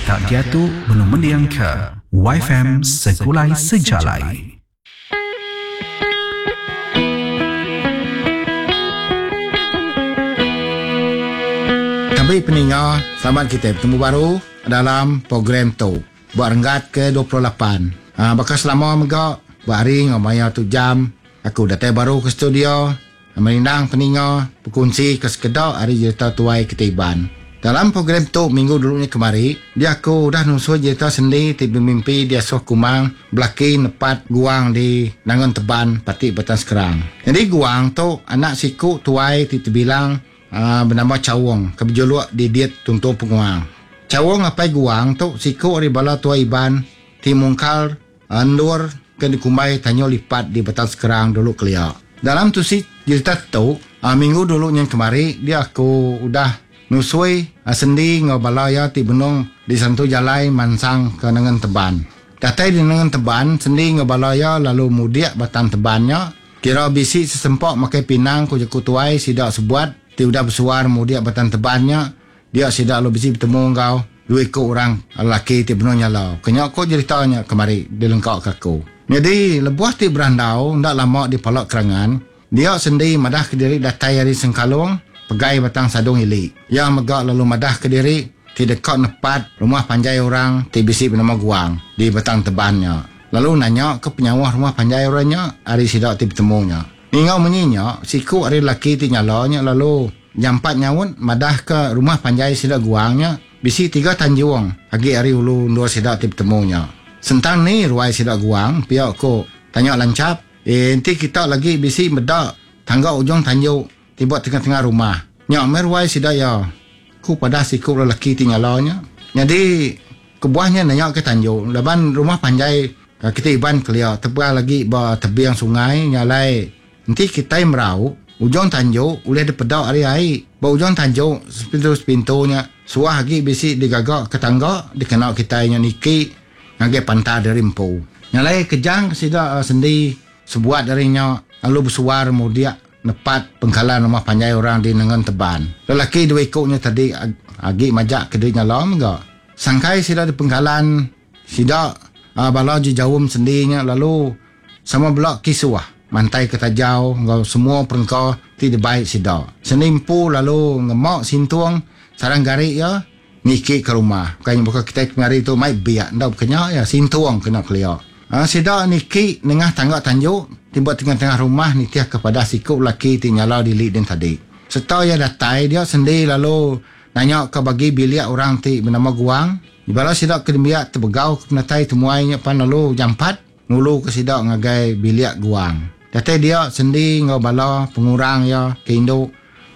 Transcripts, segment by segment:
Kita diatu benung mendingka WaiFm Segulai Sejalai. Tabi peninga, selamat kitai betemu baru dalam program tu ba renggat ke 28. Ha, baka selama mega ba hari enggau maya tu jam aku datai baru ke studio Merindang peninga bekunsi ke sekeda ari jerita tuai kitai Iban. Dalam program tu minggu dulu nya kemari, dia aku udah nusui jerita sendi ti bemimpi diasuh Kumang belaki nepat Guang di Nangun Teban, Pati Batang Skrang. Nyadi Guang tu anak siku tuai ti tebilang benama Chaung ke bejuluk Didit Tuntung Penguang. Chaung apai Guang tu siku ari bala tuai Iban ti mungkal Endur ke dikumbai Tanjung Lipat di Batang Skrang dulu kelia. Dalam tusi jerita tu, minggu dulu nyin kemari dia aku udah nusui sendi enggau bala iya ti benung di santu jalai mansang ke Nengen Teban. Datai di Nengen Teban, sendi enggau bala iya lalu mudik Batang Teban nya. Kira bisi sesempa makai pinang ku jaku tuai sida sebuat ti udah besuar mudik Batang Teban nya Dia sida lalu bisi betemu enggau dua iku orang lelaki ti benung nyala. Ke nya ko jerita nya kemari dilengka ke aku. Nyadi lebuh ti berandau enda lama di pala kerangan, dia Sendi madah ke diri datai ari Sengkalong pegai Batang Sadong Ili. Iya mega lalu madah ke diri ti deka nepat rumah panjai orang ti bisi benama Guang di Batang Teban nya. Lalu nanya ke penyauh rumah panjai orang nya ari sida ti betemu nya. Ninga munyi nya, siku ari lelaki ti nyala nya lalu jampat nyaut madahka rumah panjai sida Guang nya bisi tiga tanjung agi ari ulu endur sida ti betemu nya. Sentang ni ruai sida Guang pia ku tanya Lanchap. Eh enti kita lagi bisi meda tangga ujung tanju ti ba tengah-tengah rumah nya meh ruai sida iya, ku padah siku lelaki ti nyala nya. Nyadi kebuah nya nanya ke tanju laban rumah panjai Kitai Iban kelia tebal agi ba tebing sungai nya alai enti kitai merau ujung tanju ulih dipeda ari ai. Ba ujung tanju sepintu-sepintu nya suah agi bisi digaga ke tangga dikena kitai nya niki ngagai pantar diri empu. Nya alai kejang ke sida sendi sebuat ari nya lalu besuar mudik nepat pengkalan rumah panjai orang di Nengen Teban. Lelaki dua iku nya tadi agi majak ke diri nyala mega. Sangkai sida di pengkalan Sida bala jejaum sendi nya lalu sama bela kisuh mantai ke tajau enggau semua perengka ti dibai sida. Sendi empu lalu ngema sintung sarang gari iya niki ke rumah. Bukai nya baka kitai kemari tu mai biak enda baka nya iya sintung kena kelia. Sida niki nengah tangga tanju ti ba tengah-tengah rumah nitih ke padah siku lelaki ti nyala dili din tadi. Sereta iya datai dia sendi lalu nanya ke bagi bilik orang ti benama Guang. Bala sida ke nembiak tebegau ke penatai temuai nya pan lalu jampat nguluka sida ngagai bilik guang. Datai dia, Sendi enggau bala pengurang iya ke indu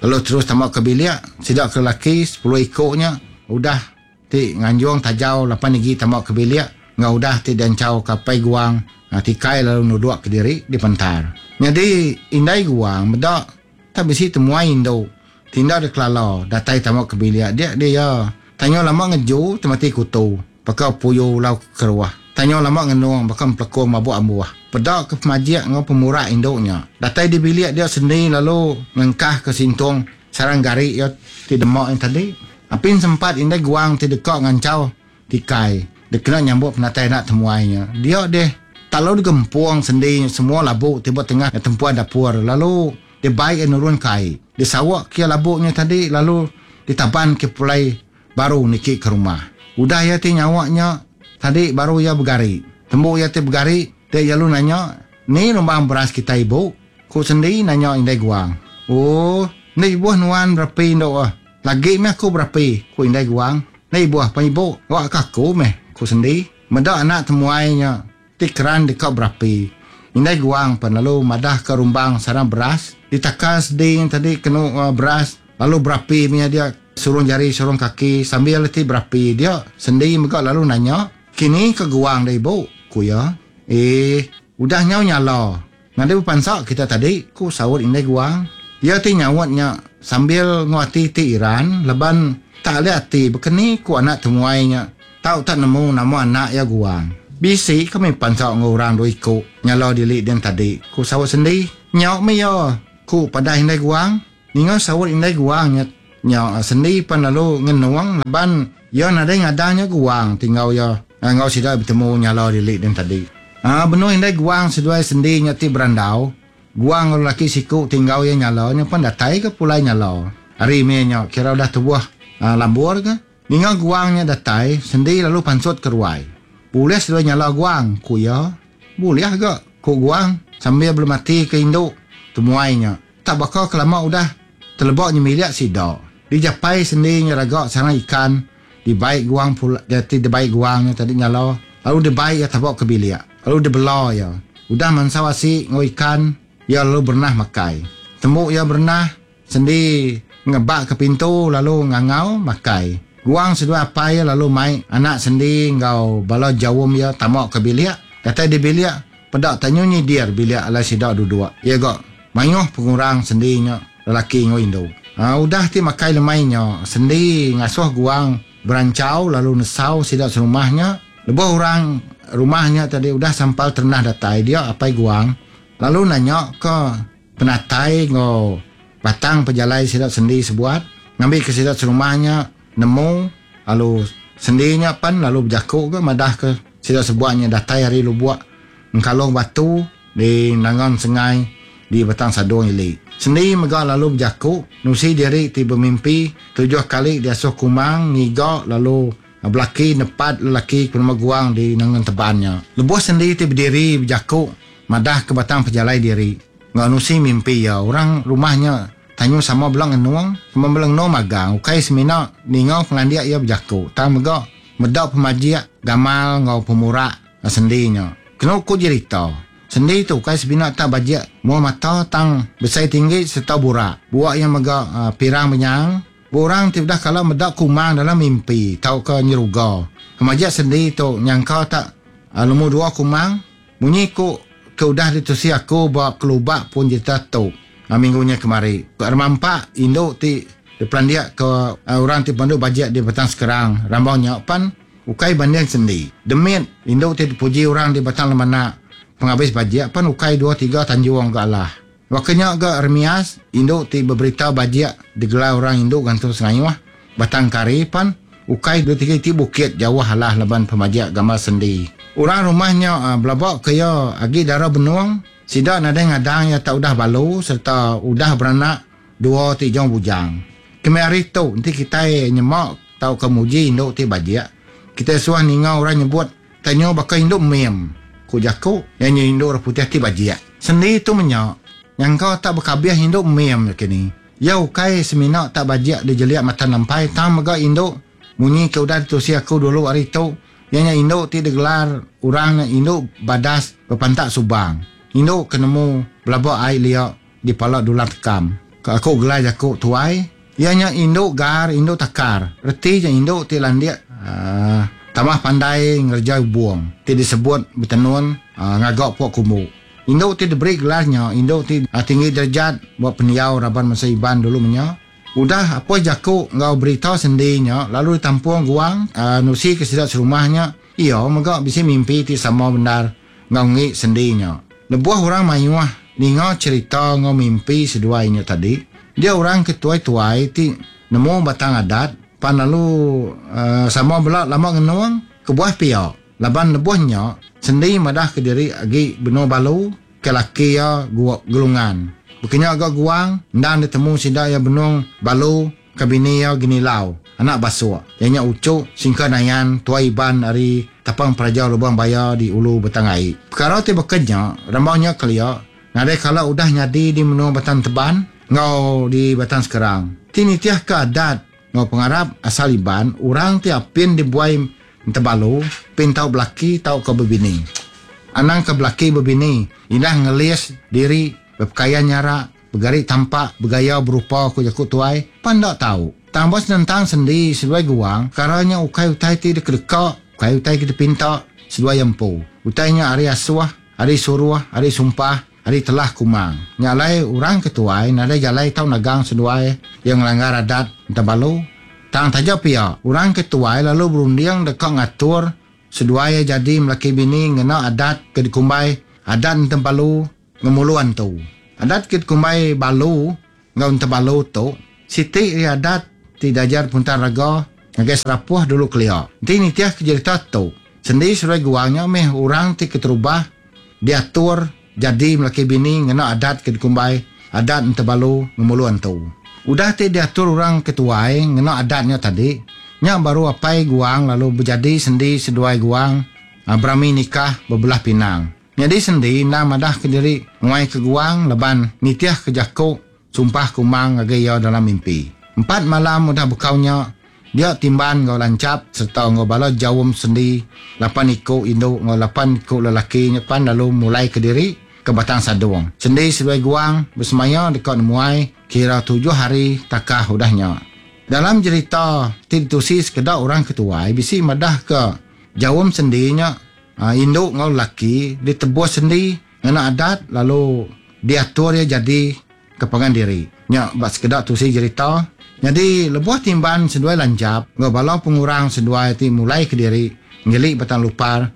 lalu terus tama ke bilik. Sida ke lelaki sepuluh iku nya udah ti nganjung tajau lapan igi tama ke bilik enggau udah ti dianchau ke apai guang tikai lalu nuduk kediri di pantar. Nyadi indai guang meda tak bisi temuai indu ti enda dikelala datai tama ke bilik dia dia iya. Tanya lama ngeju temati kutu baka puyu ulau keruh. Tanya lama ngenung baka empelekung mabuk ambuh. Peda ke pemajik enggau pemurak indu nya. Datai di bilik dia sendi lalu ngengkah ke sintung sarang gari iya ti dema nya tadi. Apin sempat indai guang ti deka nganchau tikai dikena nyambut penatai anak temuai nya. Dia deh tak lalu digempung sendi semua labu ti ba tengah tempuan dapur lalu Dibai iya nurun ke ai. Disawa ke iya labu nya tadi lalu ditaban ke pulai baru niki ke rumah. Udah iya ti nyawa nya tadi baru iya begari. Tembu iya ti begari, dia iya lalu nanya, Ni lumbang beras kitai ibu? Ku Sendi nanya indai Guang. Oh, enda ibuh nuan berapi endo ah. Lagi meh aku berapi, ku indai Guang. Enda ibuh pan ibu, awak ke aku meh, ku Sendi. Meda anak temuai nya Ti keran deka berapi. Indai Guang pan lalu madahka rumbang sarang beras ditakar sedi nya tadi kenu beras lalu berapi mih dia surung jari surung kaki sambil ti berapi dia sendi mega lalu nanya kini ka Guang da ibu? ku iya. Eeh udah nyau nyala ngagai bepansa kita tadi ku saut Indai Guang. Iya ti nyaut nya sambil enggau ati ti iran laban tak alih ati bekeni ku anak temuai nya Tau tak nemu nama anak iya guang. Bisi kami pansa enggau orang dua iku nyala dili din tadi, ku saut Sendi. Nya meh iya, ku padah indai guang. Ninga saut indai guang nya, nya Sendi pan lalu ngenung laban. Iya nadai ngadang nya Guang ti enggau iya enggau sida betemu nyala dili din tadi. Aa benung indai Guang seduai sendi nya ti berandau, Guang enggau lelaki siku ti enggau iya nyala nya pan datai ga pulai nyala. Hari mih nya kira udah tubuh lambur ga. Ninga Guang nya datai, sendi lalu pansut ke ruai. Bulih seduai nyala Guang, ku iya. Bulih ga, ku Guang sambil belemati ke indu temuai nya. Tak baka ke lama udah teleba nyemilik sida. Dijapai sendi nya raga sarang ikan dibai guang pula ti dibai guang nya tadi nyala lalu dibai iya taba ke bilik lalu dibela iya. Udah mansau asi enggau ikan iya lalu berenah makai. Tembu iya berenah sendi ngebak ke pintu lalu ngangau makai. Guang seduai apai iya lalu mai anak sendi enggau bala jaum iya tama ke bilik. Datai di bilik Peda tak nyu nyidir bilik alai sida duduk. Iya ga mayuh pengurang sendi nya lelaki enggau indu. Udah ti makai lemai nya, sendi ngasuh guang beranchau lalu nesau sida serumah nya. Lebuh orang rumah nya tadi udah sampal terenah datai dia apai guang lalu nanya ka penatai enggau batang pejalai sida sendi sebuat ngambika sida serumah nya nemu lalu sendi nya pan lalu bejaku ga madahka sida sebuat nya datai ari lubuk Engkalong Batu di Nangan Sengai di Batang Sadong ili. Sendi mega lalu bejaku nusi diri ti bemimpi tujuh kali diasuh Kumang ngiga lalu belaki nepat lelaki ke penema Guang di Nangan Teban nya. Lebuh Sendi ti bediri bejaku madahka batang pejalai diri enggau nusi mimpi iya, orang rumah nya tanyu sama bela ngenung, sama bela ngenung magang ukai semina ninga pengelandik iya bejaku tang mega meda pemajik gamal enggau pemurak Sendi nya. Kenu ku jerita, sendi tu ukai semina tak bajik mua mata tang besai tinggi sereta burak. Buak iya mega pirang benyang. Ba orang ti udah kala meda kumang dalam mimpi tauka nyeruga, pemajik sendi tu nyangka tak lumur dua kumang munyi ku ke udah ditusi aku ba kelubak pun jerita tu minggu nya kemari. Remampak indu ti dipelandik ke orang ti pemandu bajik di Batang Sekerang rambau nya pan ukai banding sendi. Demit indu ti dipuji orang di Batang Lemanak pengabis bajik pan ukai dua tiga tanjung ga alah. Baka nya ga Remias, indu ti beberita bajik digelar orang indu gantung sengayuh, Batang Kari pan ukai dua tiga iti bukit jauh alah laban pemajik gambar sendi. Orang rumah nya belaba ke iya agi dara benung, sida nadai ngadang iya tak udah balu sereta udah beranak dua ti jong bujang. Kemih hari tu enti kitai nyema tauka muji indu ti bajik, kitai suah ninga orang nyebut Tanya baka indu mim, ku jaku iya nya indu orang putih ti bajik. Sendi tu menya, nyangka tak bekabih indu mim nya kini. Iya ukai semina tak bajik dijelik mata nampai tang mega indu munyi ke udah ditusi aku dulu ari tu iya nya indu ti digelar orang nya indu badas bepantak subang. Indu ke nemu belaba ai lia di pala dulang tekam. Ke aku gelar jaku tuai, iya nya indu gar indu takar. Reti nya indu ti landik tambah pandai ngereja ubung ti disebut betenun ngaga pua kumbu. Indu ti diberi gelar nya indu ti tinggi derajat ba pendiau raban bansa Iban dulu menya. Udah apoi jaku enggau berita sendi nya lalu ditampung guang nusi ke sida serumah nya, iya mega bisi mimpi ti sama bendar enggau enggi sendi nya. Lebuh orang mayuh ninga cherita enggau mimpi seduai nya tadi, dia orang ke tuai-tuai ti nemu batang adat pan lalu sama bela lama ngenung. Kebuah pia, laban lebuh nya sendi madahka diri agi benung balu ke laki iya Gelungan. Baka nya ga Guang endang ditemu sida iya benung balu Ke bini iya Genilau, anak Basuk, iya nya uchu Singka Nayan, tuai Iban ari Tapang Peraja Lubang Baya di Ulu Batang Ai. Pekara ti baka nya, rambau nya kelia, nadai kala udah nyadi di menua Batang Teban enggau di Batang Sekerang. Ti nitihka adat enggau pengarap asal Iban, orang ti apin dibuai Entebalu, pin tau belaki tauka bebini. Anang ke belaki bebini, indah ngelis diri bepekayan nyarak, Begari tampak, begaya berupa ku jaku tuai, pan enda tau. Tang ba senentang sendi seduai guang, pekara nya ukai utai ti dikedeka, ukai utai ke dipinta seduai iya empu. Utai nya ari asuh, ari suruh, ari sumpah, ari telah kumang. Nya alai orang ke tuai nadai jalai tau nagang seduai iya ngelanggar adat entabalu. Tang taja pia, orang ke tuai lalu berunding deka ngatur seduai iya jadi melaki bini ngena adat ke dikumbai Adat Entebalu Ngemulu antu. Adat ke dikumbai balu enggau entebalu tu siti ari adat ti diajar Puntan Raga. ngagai Serapoh dulu kelia. Enti nitih ke jerita tu, Sendi seduai Guang nya meh orang ti keterubah diatur jadi melaki bini ngena adat ke dikumbai Adat Entebalu Ngemulu Antu. Udah ti diatur orang ke tuai ngena adat nya tadi, nya baru apai Guang lalu bejadi Sendi seduai Guang berami nikah bebelah pinang. Nyadi Sendi endang madah ke diri nguai ke Guang laban nitih ke jaku sumpah Kumang ngagai iya dalam mimpi. Empat malam udah bekau nya, dia Timban enggau Lanchap sereta enggau bala jaum Sendi lapan iku indu enggau lapan iku lelaki nya pan lalu mulai ke diri ke Batang Sadong. Sendi seduai Guang besemaya deka nemuai kira tujuh hari takah udah nya. Dalam jerita ti ditusi sekeda orang ke tuai bisi madahka jaum Sendi nya Indu enggau lelaki ditebus sendi ngena adat lalu diatur iya jadi ke pangan diri. Nya ba sekeda tusi jerita. Nyadi lebuh timban seduai lanjap enggau bala pengurang seduai ti mulai kediri ngili Batang Lupar,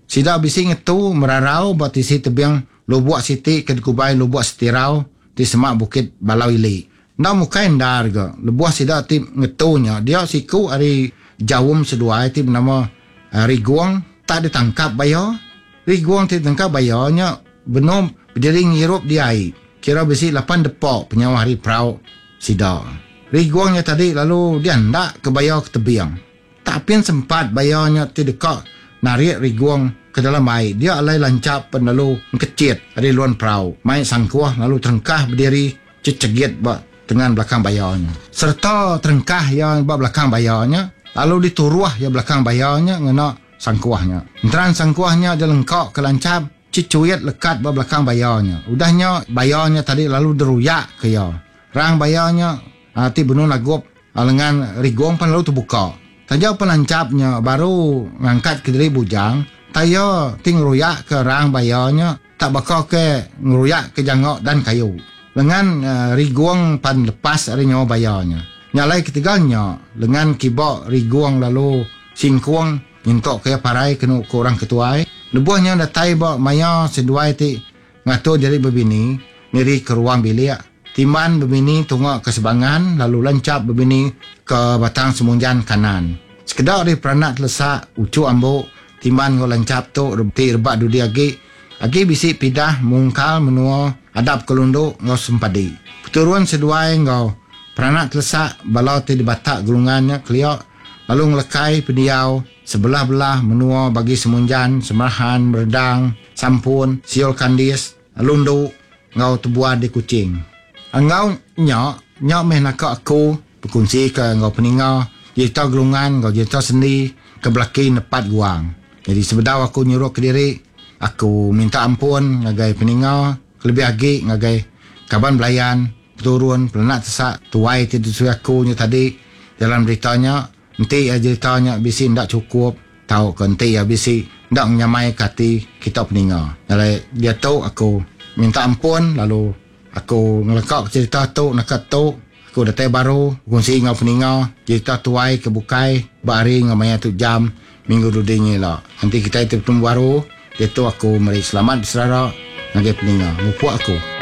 sida bisi ngetu merarau ba tisi tebing lubuk siti ke dikubai Lubuk Setirau ti semak Bukit Balau Ili. Enda mukai endar ga lebuh sida ti ngetu nya dia siku ari jaum seduai ti benama Rigong tak ditangkap baya. Rigong ti ditangkap baya nya benung bediri ngirup di ai kira bisi lapan depa penyauh ari perau sida. Rigong nya tadi lalu diandak ke baya ke tebing. Tak apin sempat baya nya ti deka narik Rigong ke dalam ai dia alai lanchap pen lalu engkechit ari luan perau mai sangkuh lalu terengkah bediri chechegit ba tengan belakang baya nya. Sereta terengkah iya ba belakang baya nya, lalu dituruh iya belakang baya nya ngena sangkuh nya. Enteran sangkuh nya dilengka ke lanchap chechuit lekat ba belakang baya nya. Udah nya, baya nya tadi lalu deruyak ke iya. Rang baya nya ti benung nagup lengan Rigong pan lalu tebuka. Taja pan lanchap nya baru ngangkat kediri bujang, tai iya ti ngeruyak ke rang baya nya Tak baka ke ngeruyak ke jangok dan kayu. Lengan Rigong pan lepas ari nyawa baya nya. Nya alai ketegal nya, lengan kiba Rigong lalu singkung nyentuk ke iya parai kenu ku orang ke tuai. Lebuh nya datai ba maya seduai ti ngatur diri bebini niri ke ruang bilik, Timban bebini tunga ke Sebangan lalu Lanchap bebini ke Batang Semunjan Kanan. Sekeda ari peranak telesak uchu ambu Timban enggau Lanchap tu ti rebak dudi agi agi bisi pidah mungkal menua adap ke Lundu enggau Sempadi. Peturun seduai enggau peranak telesak bala ti dibatak gelungan nya kelia lalu ngelekai pendiau sebelah-belah menua bagi Semunjan, Semerahan, Meredang, Sampun, Siol Kandis, Lundu enggau Tebuan di Kuching. Enggau nya, nya meh naka aku bekunsika enggau peninga jerita gelungan enggau jerita sendi ke belaki nepat guang. Nyadi sebedau aku nyuruk kediri, aku minta ampun ngagai peninga kelebih agi ngagai kaban belayan, peturun, pelenak tesak tuai ti ditusui aku nya tadi dalam berita nya. Enti iya jerita nya bisi enda chukup tauka enti iya bisi enda ngenyamaika ati kita peninga. Alai diatu aku minta ampun lalu aku ngeleka ke cherita tu naka tu. Aku datai baru bekunsi enggau peninga jerita tuai ke bukai ba hari enggau maya tu jam minggu dudi nya ila. Enti kitai ti betemu baru diatu aku meri selamat beserara ngagai peninga. Mupuk aku.